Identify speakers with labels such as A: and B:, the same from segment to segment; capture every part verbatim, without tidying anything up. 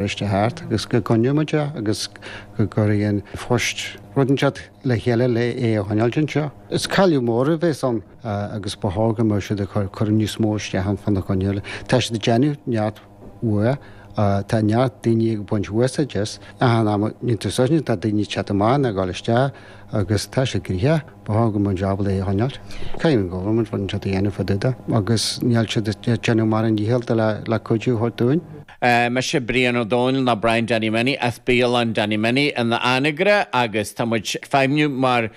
A: Feirste thart agus go gcoinneoidh muid é agus go gcuirfidh An Post rud inteacht le chéile le é a choinneáil anseo. Is cailleadh mór a bheas ann agus ba chóir go mbeadh siad ag cur níos mó isteach ann fána choinne. Tá siad ag déanamh neart uaidh, tá neart daoine ag baint úsáid as. Achan am a níonn tú suas tá daoine ag teacht amach nó ag dul isteach agus tá sé gnoitheach. Ba chóir go mbeadh ábalta é a choinneáil. Caithfidh an government rud inteacht a dhéanamh fá dtaobh de agus níl siad ag déanamh mar an ndícheall le cuidiú a thabhairt dúinn.
B: Mise Brian Ó Dónaill nó Brian Danny Minnie as Bialann Danny Minnie in Anagaire agus tá muid ag feidhmiú mar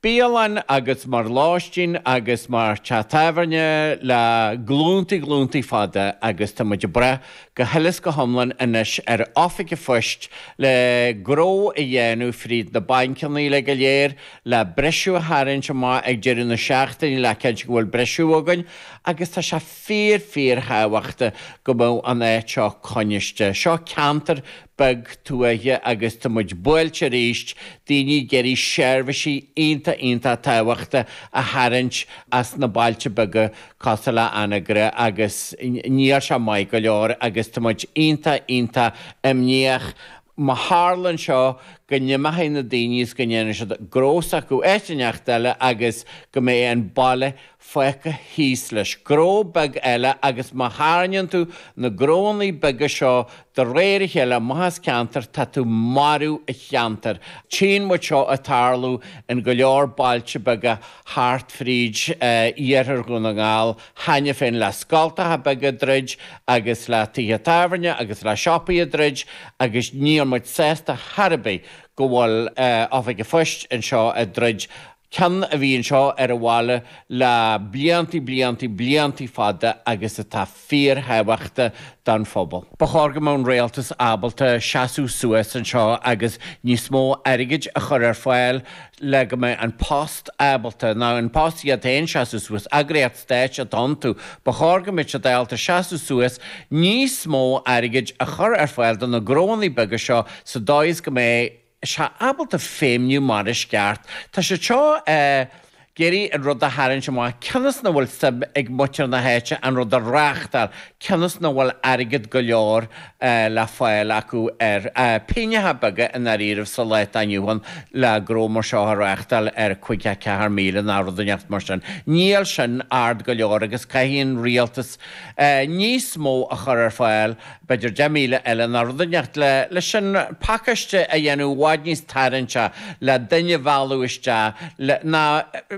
B: bialann agus mar lóistín agus mar teach tábhairne le glúntaí glúntaí fada agus tá muid ag brath go huile is go hiomlán anois ar Oifig an Phoist le gnó a dhéanamh fríd na bainceanna uile go léir le briseadh a tharraingt amach ag deireadh na seachtaine le cinntiú go bhfuil briseadh againn agus tá sé fíor fíor thábhachtach go mbeadh an áit seo coinniste. Seo ceantar beag tuaithe agus tá muid buailte arís, daoine ag iarraidh seirbhísí iontach iontach tábhachtach a tharraingt as na bailte beaga cosúil le Anagaire agus níl sé maith go leor agus tá muid iontach iontach imníoch má tharlaíonn seo go n-imeoidh na daoine is go ndéanfaidh siad gnó s'acu áit inteacht eile agus go mbeidh an baile fágtha thíos leis. Gnó beag eile agus má tharraingíonn tú na gnónnaí beaga seo de réir a chéile amach as ceantar tá tú marú an cheantair. Tchíonn muid seo ag tarlú in go leor bailte beaga thart fríd iarthar Dhún na nGall cheana féin le scoltacha beaga ag druid agus le tithe tábhairne agus le siopaí ag druid agus níl muid sásta chor ar bith go bhfuil Oifig an Phoist anseo ag druid ceann a bhí anseo ar an bhaile le bliantaí bliantaí bliantaí fada agus atá fíorthábhachtach don phobal. Ba chóir go mbeadh an rialtas ábalta seasamh suas anseo agus níos mó airgid a chur ar fáil le go mbeidh an post ábalta, nó an post iad féin seasamh suas, eagraíocht stáit atá iontu, ba chóir go mbeadh siad ábalta seasamh suas níos mó airgid a chur ar fáil do na gnónnaí beaga seo sa dóigh is go mbeidh sé ábalta feidhmiú mar is ceart. Tá sé seo ag iarraidh an rud a tharraingt amach cionn is nach bhfuil suim ag muintir na háite an rud a reáchtáil, cionn is nach bhfuil airgead go leor le fáil acu ar phingineacha beaga i ndáiríribh sa lá atá inniu ann le gnó mar seo a reáchtáil ar caoga ceathair míle nó rud inteacht mar sin. Níl sin ard go leor agus caithfidh an rialtas níos mó a chur ar fáil, b'fhéidir deich míle eile nó rud inteacht le leis an pacáiste a dhéanamh i bhfad níos tarraingte le duine a mhealladh isteach le ná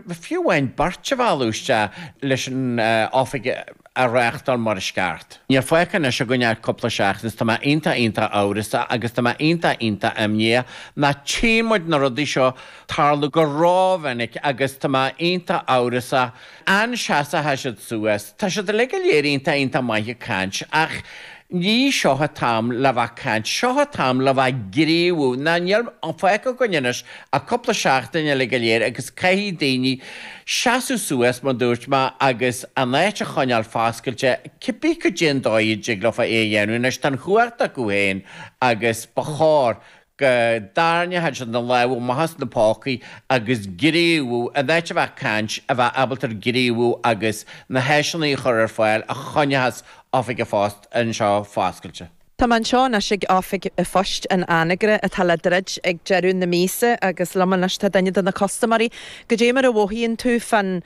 B: fiú amháin beirt a mhealladh isteach leis an oifig a reáchtáil mar is ceart. Níl fágtha anois againn ach cúpla seachtain is tá mé iontach iontach amhrasach agus tá mé iontach iontach imníoch ná tchíonn muid na rudaí seo tarlú go rómhinic agus tá mé iontach amhrasach an seasfaidh siad suas. Tá siad uilig go léir iontach iontach maith ag caint ach ní seo an t-am le bheith ag caint, seo an t-am le bheith ag gníomhú. Ná níl fágtha againn anois ach cúpla seachtain uilig go léir agus caithfidh daoine seasamh suas, mar dúirt mé, agus an áit a choinneáil foscailte, cibé cad é an dóigh a dtig leofa é a dhéanamh. Anois tá an chumhacht acu féin agus ba chóir go dtarraingeodh siad na lámha amach as na pócaí agus gníomhú, in áit a bheith ag caint, a bheith ábalta gníomhú agus na háiseanna a chur ar fáil a choinneochas Oifig an Phoist anseo foscailte.
C: Tá mé anseo anois ag Oifig an Phoist in Anagaire atá le druid ag deireadh na míosa agus liom anois tá duine de na custaiméirí. Goidé mar a mhothaíonn tú fán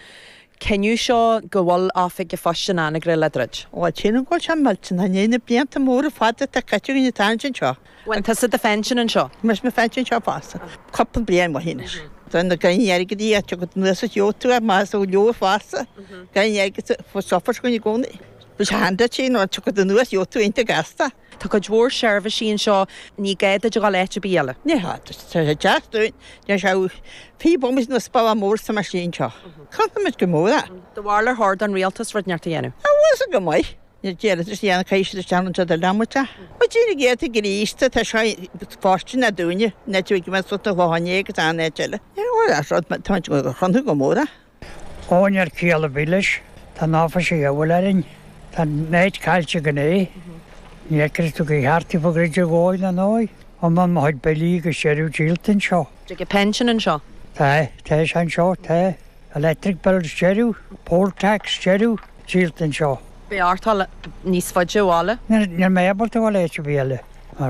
C: cinneadh seo go bhfuil Oifig an Phoist in Anagaire le druid?
D: Ó, sílim go bhfuil sé millteanach, i ndiaidh na blianta móra fada atá caite againn ag tarraingt anseo.
C: Bhain tusa do phension anseo?
D: Rinne mo phension anseo fosta, cúpla bliain ó shin anois. Tá na gain airgid í ag teacht anuas is gheobhaidh tú é más ó leor fosta. Gain airgid suffer againn i gcónaí. Bhí sé handy nuair a tiocfaidh anuas gheobhaidh tú iontach gasta.
C: Tá cuid mhór seirbhísí anseo, ní gá duit a dhul áit ar bith eile.
D: Ní hea, tá sé deas dúinn, déan sé fiche bomaite nó spalla mór sa meaisín seo. Cronaimid go mór é.
C: Do bharúil ar chóir don rialtas rud inteacht a dhéanamh?
D: Á bhfuil sé go maith. Ní déarfadh sé dhéanamh caithfidh siad isteach anseo do leanbh é. Ba dtír a gcéadta gríosta, tá sé fóirsteanach dúinne, na tuigim sult a shlánú agus an áit eile. Ní raibh rud, tá muid ag cronú go mór é.
E: Ó níl ciall ar bith leis, tá an áiféis a dhiabhail orainn, tá an áit caillte againn é. Ní fheicfidh tú go ceart í fá dhroid a dhóigh ná ndóigh. Iomlán mo chuid billí agus deireadh díolta anseo.
C: Tig an pension anseo?
E: Tá, tá sé anseo, tá. Electric bills deireadh, poll tax deireadh, díolta anseo.
C: Beidh ort dul níos faide ó bhaile?
E: Níl mé ábalta a dhul áit ar bith eile.